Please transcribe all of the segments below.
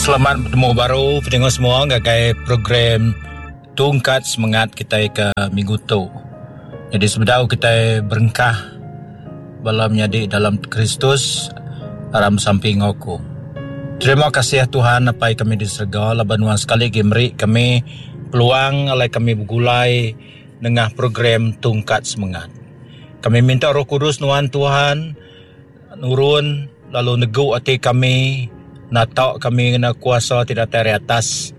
Selamat betemu baru pendengar semua ngagai program Tungkat Semengat kitai ke minggu tu. Jadi sebedau kitai berengkah bala menyadi dalam Kristus aram sampi enggau aku. Terima kasih Tuhan Apai kami di serega laban nuan sekali agi meri kami peluang alai kami begulai nengah program Tungkat Semengat. Kami minta Roh Kudus nuan Tuhan nurun lalu negu ati kami nata kami ngena kuasa ti datai ari atas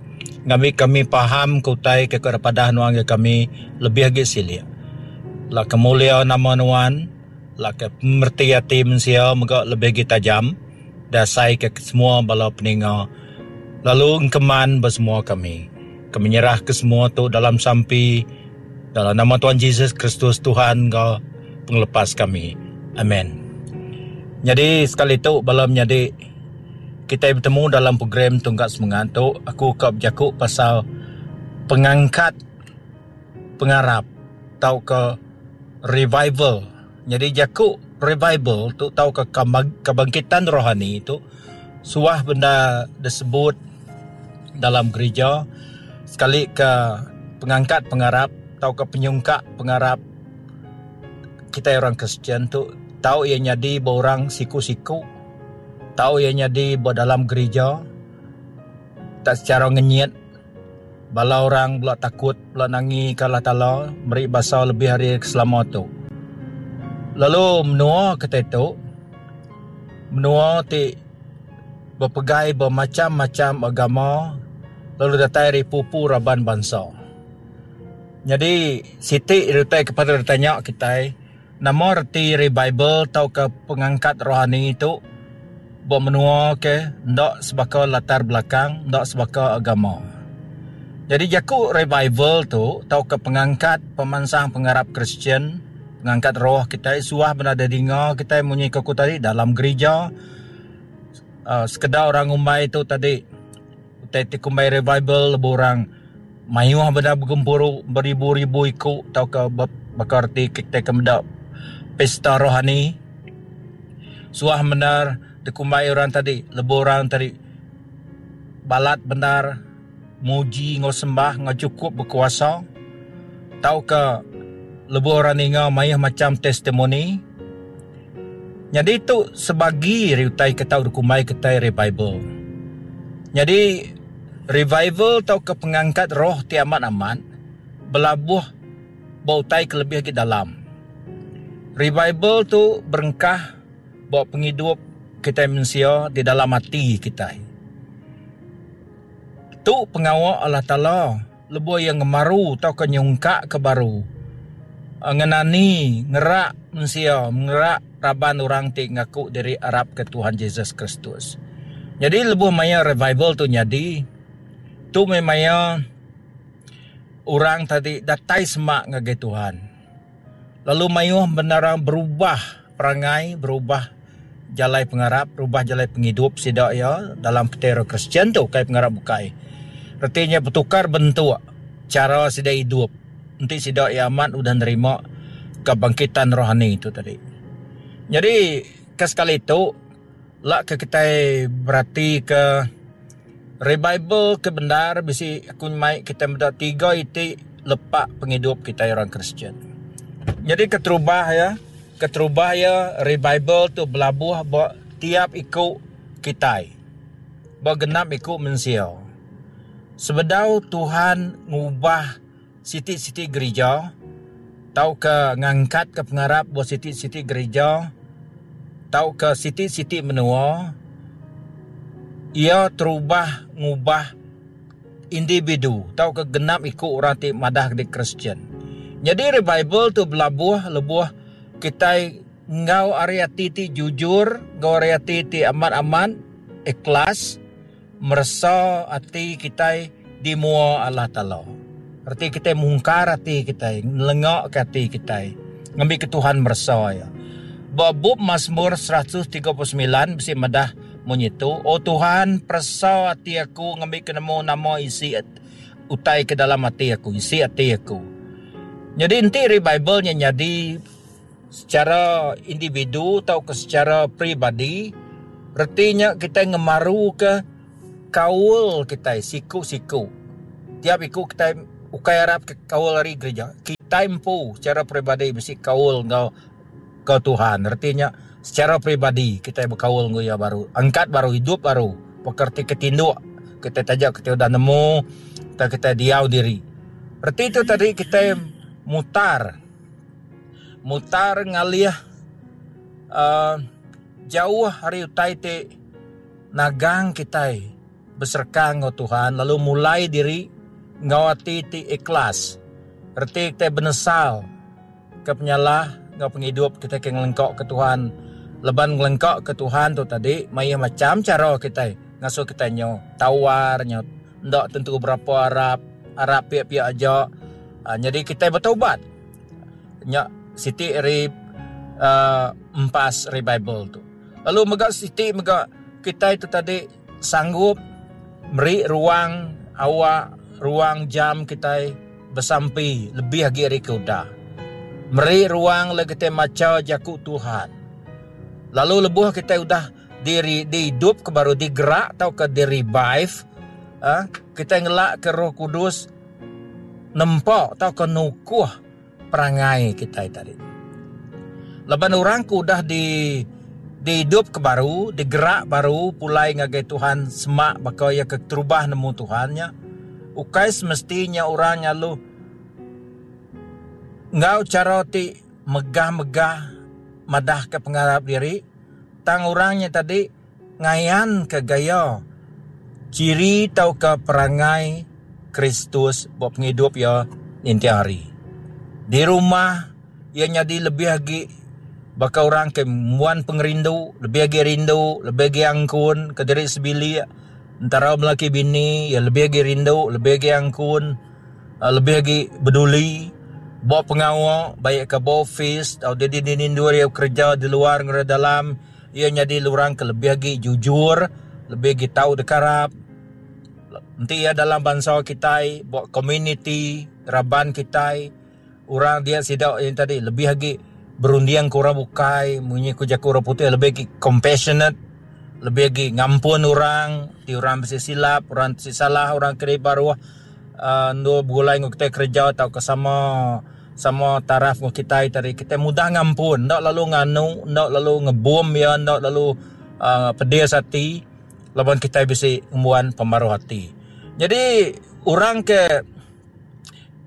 ngambi kami faham ke utai ke ka padah nuan ngagai kami lebih agi silik. La ke mulia nama nuan la ke pemereti ati mensia mega lebih agi tajam dasai ke semua bala peninga lalu engkeman ba semua kami. Kami nyerah ke semua tu dalam sampi dalam nama Tuhan Jesus Kristus Tuhan enggau pengelepas kami. Amen. Nyadi sekali tu bala menyadi kitai betemu dalam program Tunggak Semengat tu aku ka bejaku pasal pengangkat pengarap tauka revival. Nyadi jaku revival tu tauka kebangkitan rohani tu suah bendar disebut dalam gerija sekali ke pengangkat pengarap tauka penyungkak pengarap kitai orang Kristian tu tau iya nyadi ba orang siku-siku tau iya nyadi ba dalam gerija tak secara ngenyit bala orang bela takut bela nangi ke Allah Taala meri basa lebih ari ke selama tu. Lalu menua kitai tu menua ti bepegai bemacham-macham agama lalu datai ari pupu raban bansa. Nyadi siti utai ke patut ditanya kitai nama reti revival tauka pengangkat rohani tu ba menua ke enda sebaka latar belakang enda sebaka agama. Nyadi jaku revival tu tauka pengangkat pemansang pengarap Kristian pengangkat roh kitai suah bendar didinga kitai munyi ke ku tadi dalam gerija uhh sekeda orang ngumbai tu tadi. Utai ti kumbai revival lebuh orang mayuh bendar begempuru beribu-ribu iku tauka baka reti kitai ke meda pesta rohani. Suah bendar dikumbai orang tadi lebuh orang tadi balat bendar muji enggau sembah enggau chukup bekuasa tauka lebuh orang ninga mayuh macham testimoni. Nyadi tu sebagi ari utai ke tau dikumbai kitai revival. Nyadi revival tauka pengangkat roh ti amat-amat belabuh ba utai ke lebih agi dalam. Revival tu berengkah ba pengidup kitai mensia di dalam ati kitai. Tu pengawa Allah Taala. Lebuh iya ngemaru tauka nyungkakka baru, ngenani, ngerak mensia, ngerak raban orang ti ngaku diri arapka Tuhan Jesus Kristus. Nyadi lebuh maya revival tu nyadi, tu meh maya orang tadi datai semak ngagai Tuhan. Lalu mayuh bendar berubah perangai, berubah jalai pengarap, berubah jalai pengidup sida iya dalam peti Kristian tu ukai pengarap bukai. Reti nya betukar bentuk chara sida idup enti sida iya amat udah nerima kebangkitan rohani tu tadi. Nyadi ke sekali tu la ke kitai beratika revival ke bendar bisi aku nyemai kitai meda tiga iti lepak pengidup kitai orang Kristian. Nyadi keterubah iya, keterubah iya revival tu belabuh ba tiap iku kitai, ba genap iku mensia. Sebedau Tuhan ngubah siti-siti gerija tauka ngangkatka pengarap ba siti-siti gerija tauka siti-siti menua, iya terubah ngubah individu tauka genap iku orang ti madah diri Kristian. Nyadi revival tu belabuh lebuh kitai enggau ari ati ti jujur enggau ari ati ti amat-amat ikhlas meresa ati kitai di mua Allah Taala. Reti kitai mungkar ati kitai, nelengaka ati kitai ngambika Tuhan meresa iya. Ba bup Masmur 139 bisi madah munyi tu, O Tuhan, peresa ati aku ngambika nemu nama isi utai ke dalam ati aku, isi ati aku. Nyadi enti revival nya nyadi secara individu tauka secara peribadi, reti nya kitai ngemaruka. Kaul kitai siku-siku. Tiap iku kitai ukai arap ke kaul ari gerija. Kitai empu secara peribadi bisi kaul enggau enggau Tuhan. Reti nya secara peribadi kitai bekaul enggau iya baru. Angkat baru, idup baru. Baka reti ke tinduk kitai taja kitai udah nemu tang kitai diau diri. Reti tu tadi kitai mutar mutar ngalih uhh jauh ari utai ti. Nagang kitai besereka enggau Tuhan lalu mulai diri enggau ati ti ikhlas. Reti kitai benesal ke penyalah enggau pengidup kitai ke ngelengka ke Tuhan. Laban ngelengka ke Tuhan tu tadi mayuh macham chara kitai ngasuh kitai nyau tawar nyau enda tentu berapa arap, arap pia-pia aja. Nyadi kitai betaubat. Nya siti ari uhh empas revival tu. Lalu mega siti mega kitai tu tadi sanggup meri ruang awak ruang jam kitai besampi lebih agi ari ke udah. Meri ruang lalu kitai macha jaku Tuhan. Lalu lebuh kitai udah diri diidup ke baru digerak tauka di revive uhh kitai ngelak ke Roh Kudus nempa tauka nukuh perangai kitai tadi. Laban orang ke udah di diidup ke baru, digerak baru pulai ngagai Tuhan semak baka iya ke terubah nemu Tuhan nya, ukai semesti nya orang nya lalu enggau chara ti megah-megah madahka pengarap diri, tang orang nya tadi ngayanka gaya chiri tauka perangai Kristus ba pengidup iya ninting hari. Di rumah, iya nyadi lebih agi baka orang ke ngembuan pengerindu, lebih agi rindu, lebih agi angkun ke diri sebilik. Entara melaki bini, iya lebih agi rindu, lebih agi angkun, lebih agi beduli ba pengawa baik ka ba office tau dini-dini endur iya bekereja di luar enggau di dalam. Iya nyadi orang ke lebih agi jujur, lebih agi tau dekarap. Enti iya dalam bansa kitai, ba komuniti, raban kitai, orang dia sida yang tadi lebih agi berunding ke orang bukai munyi ku jaku orang putih lebih agi compassionate, lebih agi ngampun orang ti orang bisi silap, orang ti salah, orang ke dibaruh uhh endur begulai enggau kitai kereja tauka sama Sama taraf enggau kitai tadi kitai mudah ngampun enda lalu nganu enda lalu ngebom iya enda lalu uhh pedis ati laban kitai bisi ngembuan pemaruh ati. Nyadi orang ke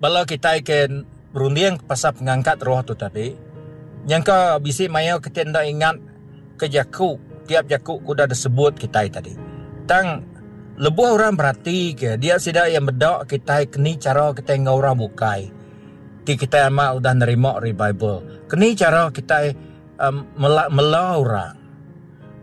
bala kitai ke berunding pasal pengangkat roh tu tadi nyangka bisi maya kitai enda ingat ke jaku tiap jaku ke udah disebut kitai tadi. Tang lebuh orang berati ke dia sida iya meda kitai keni chara kitai enggau orang bukai. Ti kitai amat udah nerima revival. Keni chara kitai um mela mela orang.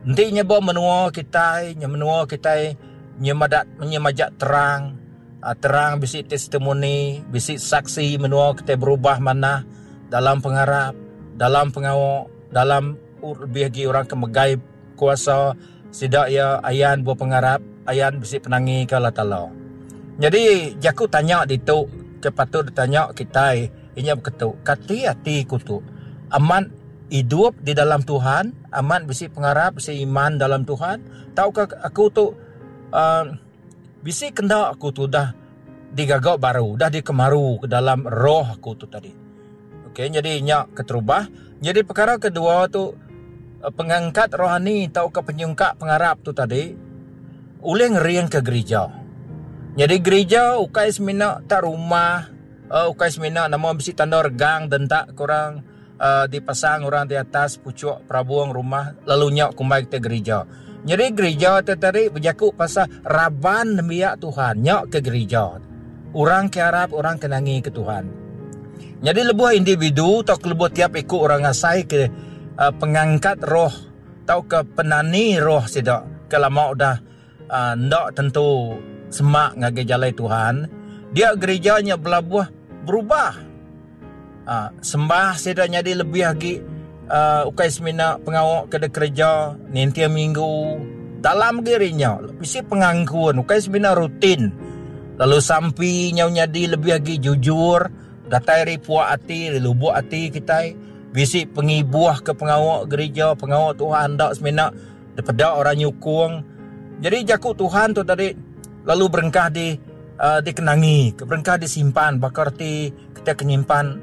Enti nya ba menua kitai, nya menua kitai nyemadak nyemajak terang uhh terang bisi testimoni, bisi saksi menua kitai berubah manah dalam pengarap, dalam pengawa, dalam lebih agi orang ke megai kuasa sida iya ayan bepengarap, ayan bisi penangi ke Allah Taala. Nyadi jaku tanya ditu ke patut ditanya kitai inya beketu, kati ati ku tu amat idup di dalam Tuhan, amat bisi pengarap, bisi iman dalam Tuhan tauka aku tu uhh bisi kenda aku tu udah digaga baru, udah dikemaru ke dalam roh aku tu tadi. Okey nyadi nya keterubah. Nyadi pekara kedua tu pengangkat rohani tauka penyungkak pengarap tu tadi ulih ngeringka gerija. Nyadi gerija ukai semina tak rumah uhh ukai semina nama bisi tanda regang dentak ke orang uhh dipasang orang di atas puchuk perabung rumah lalu nya kumbai kitai gerija. Nyadi gerija tu tadi bejaku pasal raban nembiak Tuhan nya ke gerija. Orang ke arap orang ke nangi ke Tuhan. Nyadi lebuh individu tauka lebuh tiap iku orang ngasai ke uhh pengangkat roh tauka penani roh sida ke lama udah uhh enda tentu semak ngagai jalai Tuhan, dia gerija nya belabuh berubah. Uhh sembah sida nyadi lebih agi uhh ukai semina pengawa ke dikereja ninting minggu dalam agi ari nya bisi pengangkun ukai semina rutin lalu sampi nyau nyadi lebih agi jujur datai ari puak ati ari lubok ati kitai bisi pengibuh ke pengawa gerija pengawa Tuhan enda semina dipeda orang nyukung. Nyadi jaku Tuhan tu tadi lalu berengkah di dikenangi, berengkah disimpan baka reti kita ke nyimpan.